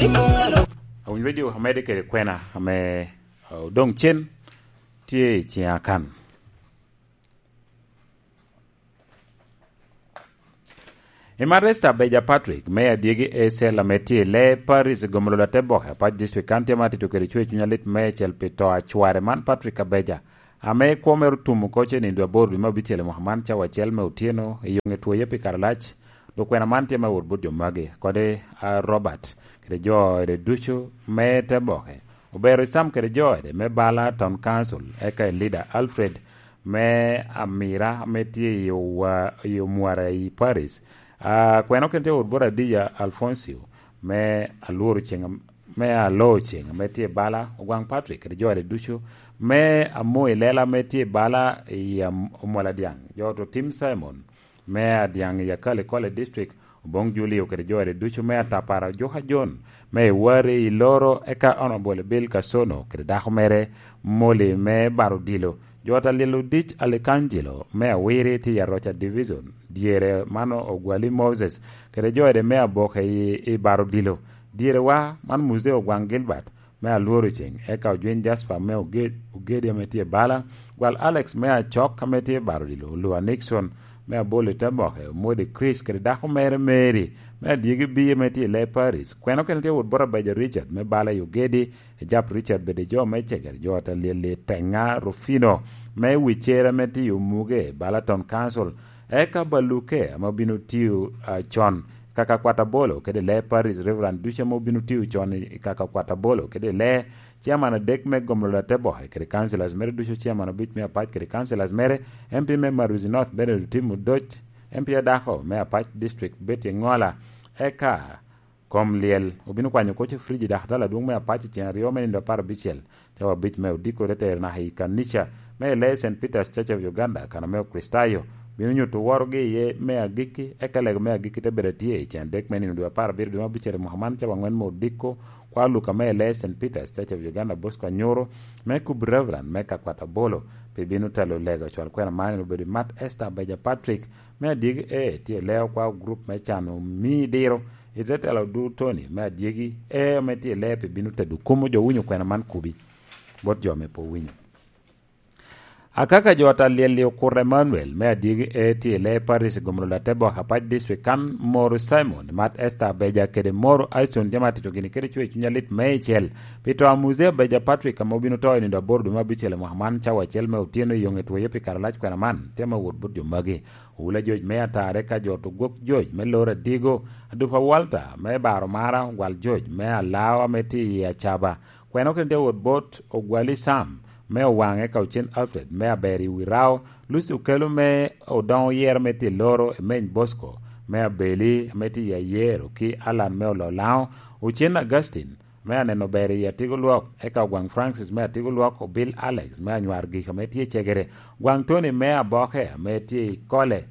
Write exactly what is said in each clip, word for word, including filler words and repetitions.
Awiny Radio amede kede kwena ame, uh, odoŋ cen tye i ciŋa kan. I Maresta Beja Patrick me adyegi A C L ame tye i lee Paris i Gomolo Lateboke, Apac District, kan tye ma atito kede cwer cuny alit meicel pi to a cware man, Patrick Abeja, ame kwo mere otum oko ce nindo aboro dwe me abicel i mwaka man, cawa acel me otyeno, i yoŋe twoye pi kare alac. Lukwena man tye me wot bot jo magi, kodi, a, Robert, kede jo ode ducu me te boke. Obero i Sam kede jo ode me bala Town Council, eka i Lida Alfred me Amira, ame tye i Owa-, i Omwara i Paris. A, kwena okene tye wot bot Adija Alfoncio me Alworo Ceng, me Alo Ceng, ame tye i bala Ogwaŋ Patrick, kede jo ode ducu me Amo i Lela, ame tye i bala i Am-, Omwala Dyaŋ, jo to Tim Simon, me Adyaŋ i Akali Kole District, Oboŋ Julio kede jo ode ducu me Atapara, Ojuka John me Iwari i Loro, eka Honorable Bill Kasono kede dako mere Molly me Baro Odilo, jo ot a Lyel Odic Alikanjilo me Awiri tye i Aroca Division, dyere man Ogwali Moses kede jo ode me Aboke i, i Baro Odilo, dyere wa man Muzee Ogwaŋ Gilbert, me Alworo Ceng, eka Ojwiny Jasper me Oge-, Ogedi ame tye i bala, gwal Alex me Acok ame tye i Baro Odilo, Olua Nixon me Abolo i Taboke, Omode Chris kede dako mere Mary me Adyegi Biye ame tye i Lee Paris. Kwena okene tye wot bot Abeja Richard me bala i Ogedi, Ejap Richard bede jo me Cegere, jo ot a Lyel i Teŋa Rufino me Wicere ame tye i Omuge, bala Town Council, eka Baluke ame obino tiyo, ah, con kaka kwat abolo kede lee Paris, Reverend ducu ame obino tiyo con i, i kaka kwat abolo kede lee, chairman adek me Gomolo Lateboke kede councillors mere ducu, chairman obic me Apac kede councillors mere, M P me Maruzi North Bernard Otim Odoc, M P adako me Apac District Betty Ŋola, eka kom lyel obino kwanyo koc i friji daka tala adwoŋ me Apac i ceŋ aryo me nindo apar abicel. Cawa abic me odiko te tero naka i kanica me Lee Saint Peter's Church of Uganda, kan ame Okricitayo bino nyuto worogi iye me agikki, eka lego me agikki te bedo atye i cen adek me nino dwe apar abiro dwe me abicel i mwaka man, cawa aŋwen me odiko, kwa Luka me Lee Saint Peter's Church of Uganda, Bosco Anyuru, me kubo Reverend me Kakwat Abolo, pi bino telo lego cwal kwena man, en obedo i Mat Esther Beja Patrick, me adyegi e tye i Leo kwa gurup me can omi diro, i te telo du Tony, me adyegi e ame tye i Leo, pi bino tedo kumo jo winyo kwena man kubi. Bot jo ame pe owinyo. Akaka jo ata lyel-li okuto Emmanuel, me adyegi e tye i Lee Paris i Gomolo Latebok, Apac District, kan Moro Simon, Mat Esther Abeja kede Moro Aison tye ma tito gini kede cwer cuny alit me icel. Pi to a Muzee Abeja Patrick, ame obino to i nindo aboro dwe me abicel i mwaka man, cawa acel me otyeno i yoŋe twoye pi kare alac kwena man, tye ma wot bot jo magi. Owula Joc me Atare ka jo to gwok Joc me Loro Adigo, Adupa Walter me Baro Mara, Gwal Joc me Alao ame tye i Acaba, kwena okene tye wot bot Ogwali Sam me Owaŋe, Kaucen Alfred me Aber i Wirao, Lucy Okelo me Odoŋo Yero me tye Loro, Emeny Bosco me Abeli ame tye i Ayero, ki Alan me Ololaŋo, Ocen Augustine me Aneno Ber i Atigo Lwok, eka Ogwaŋ Francis me Atigo Lwok, Obil Alex me Anywar Gik ame tye i Cegere, Gwaŋ Tony me Aboke ame tye i Kole,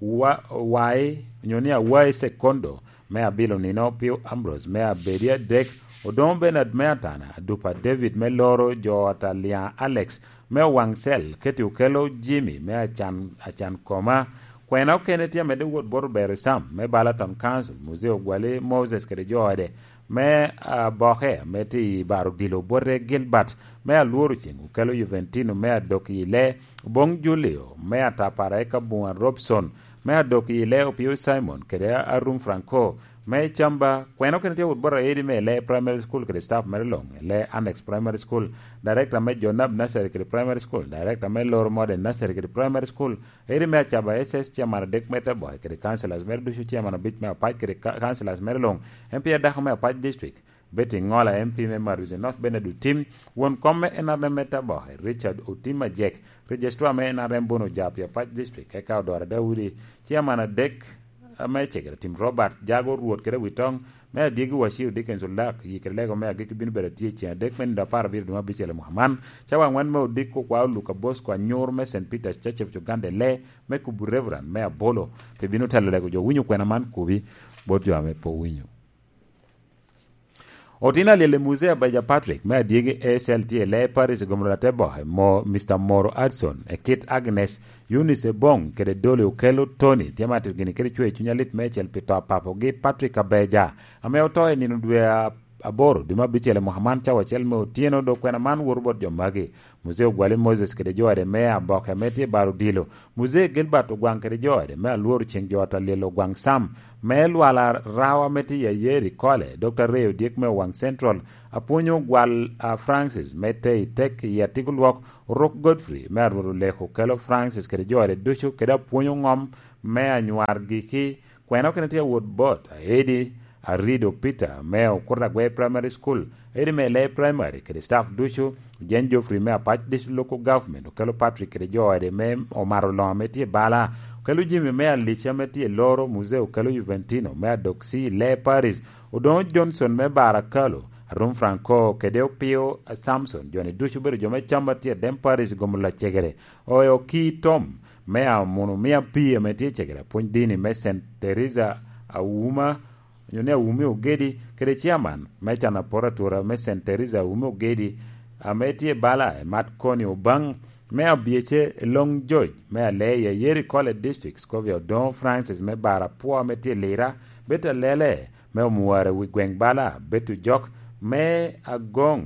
Wa-, Wai, onyo ni Awai Sekondo, me Abilo Nino, Pio Ambrose me Abedi Adek, Odoŋo Bernard me Atana, Adupa David me Loro, jo ot Aliaŋ Alex me Owaŋ Cel, Keti Okelo Jimmy me Acan, Acan Koma. Kwena okene tye amedde wot bot Obero Sam me Balaton Council, Muzee Ogwali Moses kede jo ode me Aboke me tye i Baro Dilo, Bote Gilbert me Alworo Ceng, Okelo Juventino me Adok i Lee, Oboŋ Julio me Atapara, eka Buŋa Robson me Adok i Lee, Opio Simon kede Arum Franco me Camba. Kwena okene tye wot bot Aedi me Lee Primary School kede staff mere luŋ, Lee Annex Primary School, Director me Jonab Nursery kede Primary School, Director me Loro Modern Nursery kede Primary School, Eri me Acaba S S, Chairman adek me Taboke kede Councillors mere ducu, Chairman abic me Apac kede ka-, Councillors mere luŋ, M P adako me Apac District, Betty Ŋola, M P me Maruzi North, Bernard Otim, won kom me N R M me Taboke, Richard Otim Ajek, Registrar me N R M Bono Japi Apac District, eka Odora Daudi, Chairman adek me Cegere Tim Robert, Jago Rwot kede Witoŋ, me Adyegi Wacio Dickens Olak, yi kede lego me agikki bino bedo atye i ceŋ adek me nino apar abiro dwe me abicel i mwaka man, cawa aŋwen me odiko kwa Oluka Bosco Anyur me Saint Peter's Church of Uganda Lee, me kubo Reverend me Abolo, pe bino telo lego jo winyo kwena man kubi bot jo ame pe owinyo. Otino alyel i Muzee Abaja Patrick me Adyegi A C L tye i Lee Parish i Gomoro Lateboke, mo Mister Moro Adson, e kit Agnes, Eunice Ebong, kede Dolly Okello Tony, tye ma tito gini kede cwer cuny alit meicel pi to a papogi Patrick Abeja, ame oto i nino dwe a aboro dwe me abicel i mwaka man, cawa acel me otyeno, dok kwena man woto bot jo magi: Muzee Ogwali Moses kede jo ade me Aboke ame tye i Baro Odilo, Muzee Gilbert Ogwaŋ kede jo ade me Alworo Ceŋ, jo ata Lyel Ogwaŋ Sam me Lwala Rawa ame tye i Ayeri Kole, Dokta Ray Odyek me Owaŋ Central, Apwony Ogwal, a, Francis me Tei Tek i Atigo Lwok, Orok Godfrey me Arwot Oleko Kelo Francis kede jo ade ducu, kede Apwony Oŋom me Anywar Giki. Kwena okene tye awot bot Aedi Arido Peter me Okuta Agwe Primary School, Aedi me Lee Primary kede staff ducu, Jane Geoffrey me Apac District Local Government, Okelo Patrick kede jo ade me Omaro Loŋo ame tye i Bala, Okelo Jimmy me Alica ame tye i Loro, Muzee Okelo Juventino me Adoksi i Lee Paris, Odoŋo Johnson me Barakalo, Arum Franco kede Opio Samson, jo-ni ducu obedo jo me Cam a tye i Dem Paris, Gomo Lacegere, Oyo Ki Tom me Amuno Mia Pii ame tye i Cegere, Apwony Dini me Saint Teresa Auma, onyo ni Awumi Ogedi, kede Chairman me Can Apor Atura me Saint Teresa Awumi Ogedi, ame tye i Bala, Emat Koni Obaŋ me Abyece, Long George me Aleya, Yeri College District, Scovia Odoŋo Francis me Bara Pwo ame tye i Lira, Beta Lele me Omuwara wi gweŋ Bala, Betu Jok me Agoŋ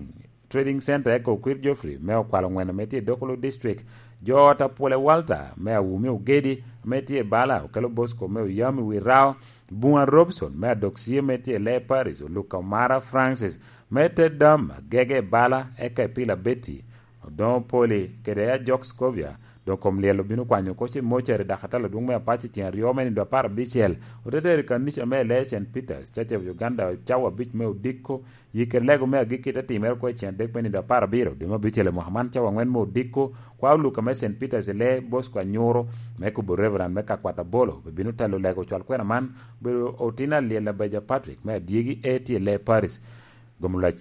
Trading Center, eka Okwir Geoffrey me Okwalo Ŋwen ame tye i Dokolo District, jo ot Apwole Walter me Awumi Ogedi ame tye i Bala, Okelo Bosco me Oyami wi Rao, Buŋa Robson me Adoksie ame tye i Lee Paris, Oluka Omara Francis me Te Dam Agege i Bala, eka i Pila Betty, Odoŋo Poli kede Ajok Scovia. Doŋ kom lyel obino kwanyo oko ce mocere dak atal adwoŋ me Apac i ceng aryo me nindo apar abicel. Ote tero i kanica me Lee Saint Peters, Church of Uganda, cawa abic me odiko. Yik kede lego me agikki te timere oko i ceng adek me nindo apar abiro dwe me abicel i mwaka man, cawa aŋwen me odiko. Kwa Oluka me Saint Peters i Lee Bosco Anyuro me kubo Reverend me Kakwat Abolo, obino telo lego cwal kwena man, obedo otin alyel abeja Patrick me Adyegi A T i Lee Paris. Gomulwa,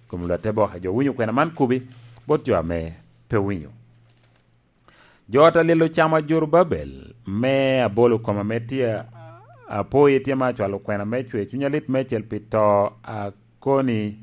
gomulwa te boke jo winyo kwena man kubi bot jo ame pe winyo. Jo ot a lyel ocamo ajuru Babel me Abolo koma ame tye apoyi tye ma acwalo kwena me cwe cuny alit meicel pi to a koni,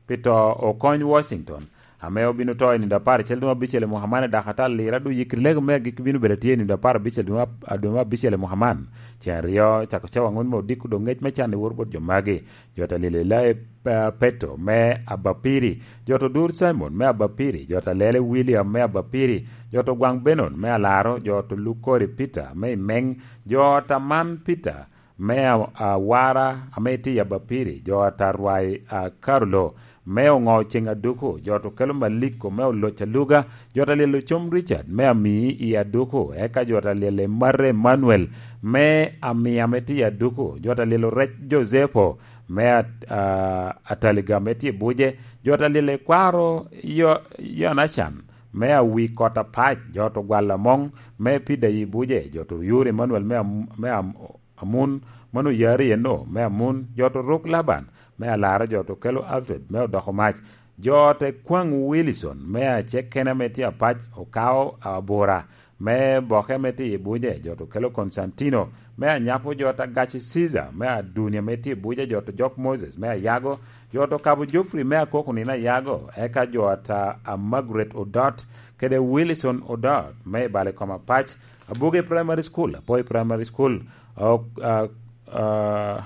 pi to Okony Washington, ame obino to i nindo apar acel dwe me abicel i mwaka man i Dakar, Lira, dwe yikri lego me agikki bino bedo atye i nindo apar abicel dwe me ab-, dwe me abicel i mwaka man. Ceng aryo, cako cawa aŋwen me odiko, dok ngec me can i woro bot jo magi. Jo ot a lyel Elai, eh, Peto me Abapiri, jo ot Odur Simon me Abapiri, jo ot a Lele William me Abapiri, jo ot Ogwaŋ Benon me Alaro, jo ot Lukori Peter me Imeng, jo ot Aman Peter me A-, Awara ame tye i Abapiri, jo ot Arwai, a, Karulo me Oŋo Ceŋ Aduku, jo ot Okelo Maliko me Oloc Aluga, jo ot a lyel Ocom Richard me Amii i Aduku, eka jo ot a lyel Emate Emmanuel me Amii ame tye i Aduku, jo ot a lyel Orec Josepo me At-, a, Ataliga ame tye i Buje, jo ot a lyel Ekwaro Yo-, Yonacan me Awi Kot Apac, jo ot Ogwal Amoŋ me Pida i Buje, jo ot Oyur Emmanuel me Am-, me Am-, Amun, mano Oyari eno me Amun, jo ot Oruk Laban me Alara, jo ot Okelo Alfred me Odoko Mac, jo ot Ekwaŋ Wilson me Acekene ame tye Apac, Okao Abura me Boke ame tye i Buje, jo ot Okelo Konstantino me Anyapo, jo ot Agaci Ciza me Adunia ame tye i Buje, jo ot Jok Moses me Ayago, jo ot Okabo Geoffrey me Akoko Nino Ayago, eka jo ot a, a Margaret Odot kede Wilson Odot me i Bale Kom Apac, Abuge Primary School, Apoi Primary School, ok, a, a,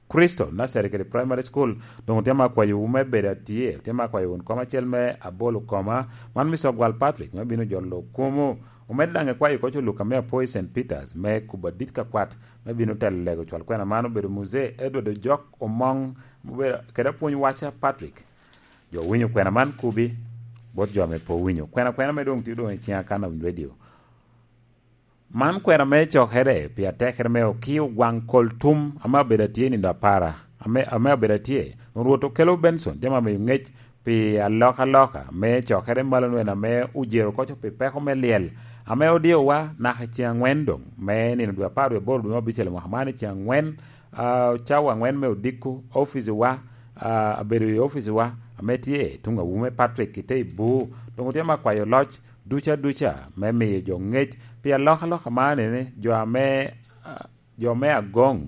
Crystal Nursery kede Primary School. Doŋ otye ma akwayowu me bedo atye, otye ma akwayo wun kom acel me Abolo koma, man Mister Ogwal Patrick, me bino jolo kumo. Omed daŋ ekwayo koc Oluka me Apoi Saint Peters me kubo adit ka kwat, me bino telo lego cwal kwena man obedo Muzee Edward Ojok Omoŋ, obedo kede apwony waca Patrick. Jo winyo kwena man kubi, bot jo ame pe owinyo. Kwena kwena me doŋ tye doŋ i ciŋa kan awinyo radio. Man kwena me cokere pi atekere me Okio Gwaŋ Kol Tum, ame abedo atye i nindo apara, ame, ame abedo atye. Rwot Okelo Benson tye ma miyo ŋec pi alokaloka me cokere malo nwen ame ojero koco pi peko me lyel, ame odiowa naka i ceŋ aŋwen doŋ, me nino dwe apar dwe aboro dwe me abicel mwaka man i ceŋ aŋwen, a, cawa aŋwen me odiko, oficiwa, a, abedo i oficiwa ame tye tuŋ awume Patrick Kitei Buu, doŋ otye ma kwayo loc duca duca me miyo jo ŋec pi alokaloka man, ene jo ame, a, jo me Agoŋ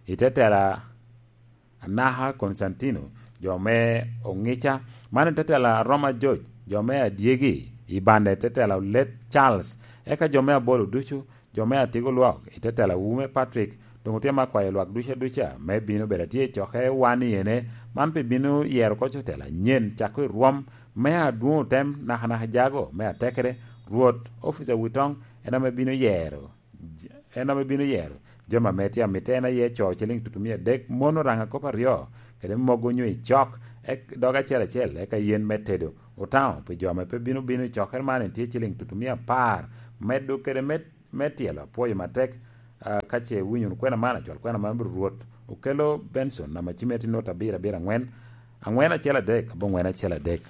i te tela Anaka Konstantino, jo me Oŋica, man i te tela Roma George, jo me Adyegi i bande i te tela Olet Charles, eka jo me Abolo ducu, jo me Atigo Lwok i te tela Wume Patrick, doŋ otye ma kwayo lwak duca duca me bino bedo atye i coke wan i ene, Man pe bino yero oko cotela nyen cako i rwom me adwoŋ otem nakanaka jago me atekere, Rwot, ofica wi toŋ, en ame bino yero, en ame bino yero jami ame tye amitte, en aye co ciliŋ tutumia adek, mon oraŋa kop aryo, kede mogo onyo i cok, ek-, dog acel acel, eka yen me tedo, otaŋo pi jo ame pe bino bino i cokere man, en tye ciliŋ tutumia apar, medo kede me, me tyelo apwoyo matek. Ah, ka ce iwinyo wunu kwena man, acwal kwena man obedo Rwot Okello Benson, namba cimme tye not abiro abiro angwen, angwen acel adek, abongwen acel adek.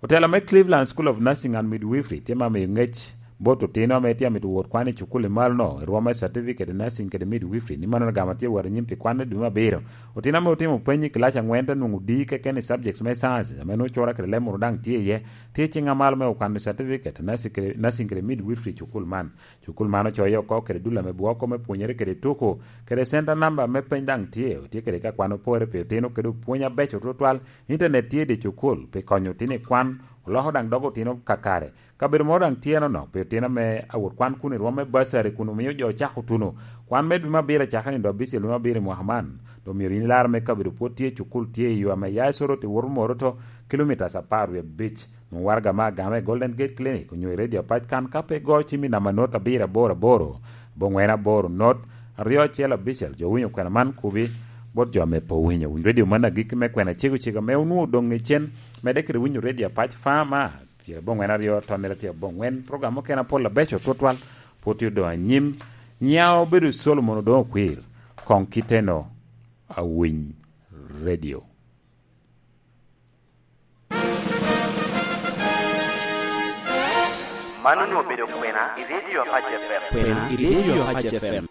Otela me Cleveland School of Nursing and Midwifery tye ma miyo ngec bot otino ame tye amito wot kwan i cukul i malo-no, i rwom me Certificate in Nursing kede Midwifery, ni mano gamo tye wot anyim pi kwan me dwe me abiro. Otino ame otimo peny i kilac angwen te nwoŋo D keken i subjects me sciences, ame nwoŋo cura kede leb munu daŋ tye iye, tye ciŋ amalo me okwano certificate nursing kede, nursing kede midwifery i cukul man. Cukul man ocoyo oko kede dul ame bwoko me pwonyere kede tuko, kede center number me peny daŋ tye, otye kede ka kwan opore pi otino kede opwony abeco tutwal. Internet tye i dye cukul pi konyo otino i kwan, oloko daŋ dog otino kakare. Kabedo moro daŋ tye nonok pi otino ame awot kwan kun i rwom me bursary kun omio jo ocako tuno. Kwan me dwe me abiro acakere nino abicel dwe me abiro i mwaka man. Dok myero yin ilar me kabedo pwod tye i cukul tye i yo ame ya i Soroti woto Moroto, kilomitas apar wie abic. Nwoŋo waraga me agama i Golden Gate Clinic onyo i Radio Apac kan ka pe igo cim i namba not abiro aboro aboro, abongwen aboro not, aryo acel abicel. Jo winyo kwena man kubi bot jo ame pe owinyo. Winy radio man agikki me kwena cego cego ame onwoŋo odoŋ i cen, medde kede winyo Radio Apac Fama, pyeradek abongwen aryo, tonnere tye abongwen. Program mukene apol abeco tutwal pwod tye odoŋ anyim. Nyiŋa obedo Solomon Odoŋo Okwir, koŋ kiteno awiny radio. Man onwoŋo obedo kwena i Radio Apac F M. Kwena i Radio Apac F M.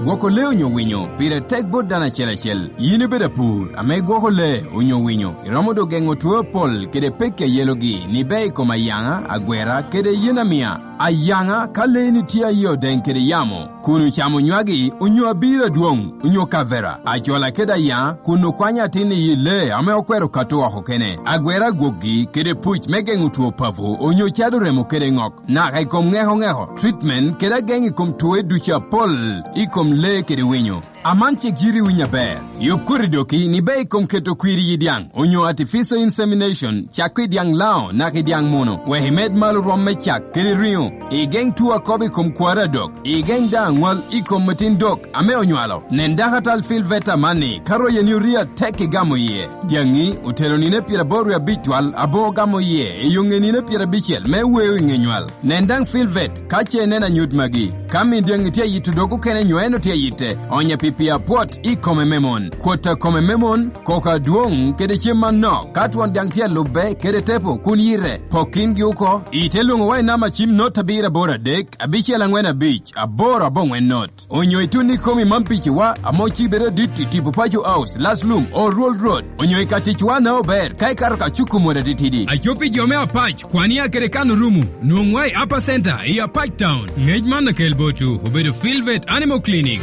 Gwoko lee onyo winyo pire tek bot dano acel acel. Yin ibedo apur ame gwoko lee onyo winyo, iromo doŋ geŋo two apol kede pekki a yelogi ni ber i kom ayaŋa, agwera, kede yen amiya. Ayaŋa, ka leeni tye aye odeŋ kede yamo, kun ocamo nywagi, onyo abiro adwoŋ, onyo kavera, acola kede ayaŋa, kun okwanyo atin i yi lee ame okwero kato oko kene, agwera agwokgi, kede puc me geŋo two papo, onyo cado remo kede ŋok, naka i kom ŋeko ŋeko, treatment, kede ageŋ i kom twoe ducu apol i kom lee kede winyo. Aman cik yiti winy aber. Yub koti doki ni ber i kom keto kwir i yi dyaŋ, onyo artificial insemination, cak i dyaŋ Laŋo naka i dyaŋ Muno, wek imed malo rwom me cak kede riŋo. Igeŋ two akobo i kom kwaro adok. Igeŋ daŋ aŋwal i kom atin dok ame onywalo. Nen dakatal Phil Veta amanni, ka royeni orii atek igamo iye. Dyaŋi otelo nino pyeraboro wie abic twal, abo ogamo iye i yo ŋe nino pyerabicel me weo i ŋe nywal. Nen daŋ Phil Vet ka ce ineno anyut magi. Ka min dyaŋi tye ayito dog okene nyo en otye ayitte, onye pi pii apwot i kome me mon. Kwot a kome me mon, koko adwoŋ kede cem manok, ka twon dyaŋ tye alubbe kede tepo kun yite, pok kingi oko, ite lwoŋo wa i namba cim not abiro aboro adek, abicel aŋwen abic, aboro aboŋwen not. Onyo itun i komi man piciwa, ame ocibere adit i tipo Paco House, Laslum, Oruol Road, onyo i ka ticwa na ober, ka ikato ka cuko mot atitidi. Aco pi jo me Apac, kwan i akere kan orumo, nwoŋwa i Upper Center, i Apac Town. Ngec man akel botwu, obedo Filvet Animal Clinic.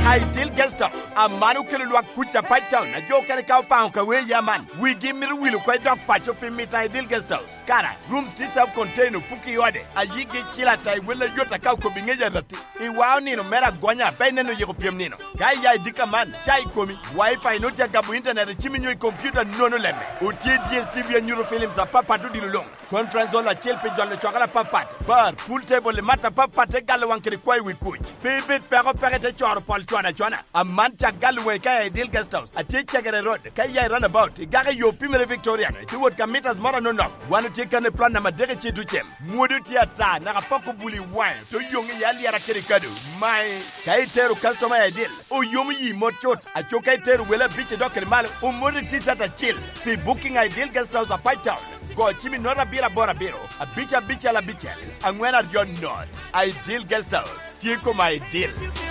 Ideal Guest House, aman okelo lwak kuc Apac Town, ajo okene ka opaŋo ka wee ya man, wigi mito wil oko i dok paco pi mito Ideal Guest House. Kara, rooms tye self-contained, opuko i ode, ayiggi cil ata i wel ayot aka okobo i ŋec arati. I wao nino mere agonya, pe ineno yiko pyem nino. Ka iya i dika man, ca i komi, Wi-Fi nut tye agabo internet i cimi nyo i kompiuta nono lemme. Otye D S T V anyuto films apapat odilo luŋ. Conference hall acel pi jolo cokere apapat. Bar, pool table i mat apapat te galo waŋ kede kwayo wi kuc. Pe ibed peko peko ite coro pol con acona. Aman cak galo waŋi ka iya i Ideal Guest House. Atye i Cegere Road. Ka iya i runabout, igako i yo pimere Victorian, itye wot ka mitas moro anonok. Wan otye kan i plot namba adek i Citucem. Mwodo tye ata, naka pok obuli i waŋe, to yoŋ iye alyera kede kado. Mae, ka itero customer i Ideal, oyomo yi mot cut. Aco ka itero wele abic i dok kede malo, omot i T-shirt acil. Pi booking Ideal Guest House Apac Town, go cim i not abiro aboro abiro, abic abicel abicel, aŋwen aryo not. Ideal Guest House. Tye koma i dil.